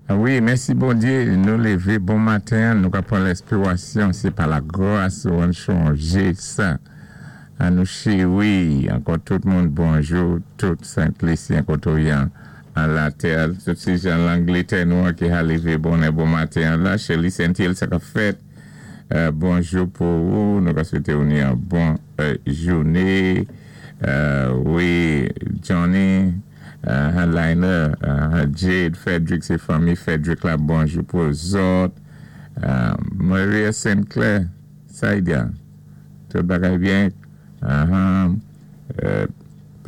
Wi mèsi Bondyé nou lévé bon maten an nou ka pran lèspirasyon sé pa la gras ou an chonjé sa an nou chéri ankò tout moun bonjou tout sent lisyen kotoyan an latè tout ti jan langletè nou an ki ha lévé bonè bon maten an la Sherley Saintil sa kap fèt bonjou pou ou nou ka swete ou ni an bon jouné wi Johnny. Liner, Jade, Frederick se fanmi Frederick la bonjou pou zòt Maria Saint Clair Saidia tout bagay byen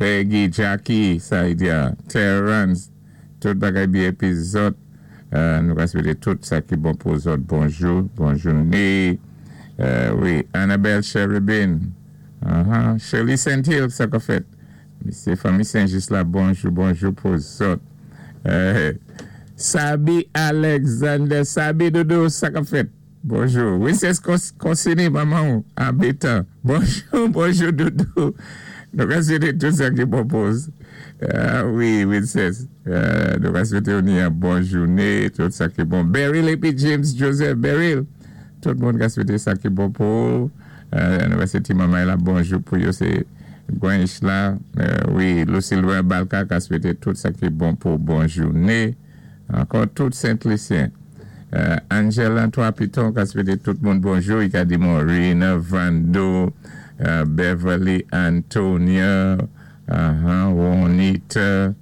Peggy Jackie Saidia Terrence tout bagay byen epi zòt nou ka swete tout sa ki bon pou zòt bonjou bon joune wi Annabelle Cherubin Shirley Saint Hill sa kap fèt. Mesye fanmi senjis la bonjou bonjou pou zòt Sabi Alexander Sabi dodo sa kap fèt bonjou Princess Consini manmanw anbetan bonjou bonjou dodo nou ka swete tout sa ki bon pou wi Princess nou ka swetew ni yon bon joune tout sa ki bon Beryl epi James Joseph Beryl tout moun ka swete sa ki bon pou ou. Nou pase ti manmay la bonjou pou yo se Gwench la wi Lucilbert Balka ka swete tout sa ki bon pou bon joune ankò tout sentlisyen Angel an 3 piton ka swete tout moun bonjou i ka di Maureen Vando Beverly Antonia Ronita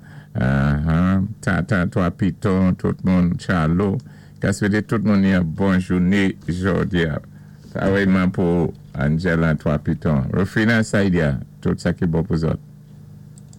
Tata 3 piton tout moun Charlo ka swete tout moun yon bon joune jodia. Parèyman pou Angela 3 piton. Rufina Saidia, tout sa ki bon pou zòt.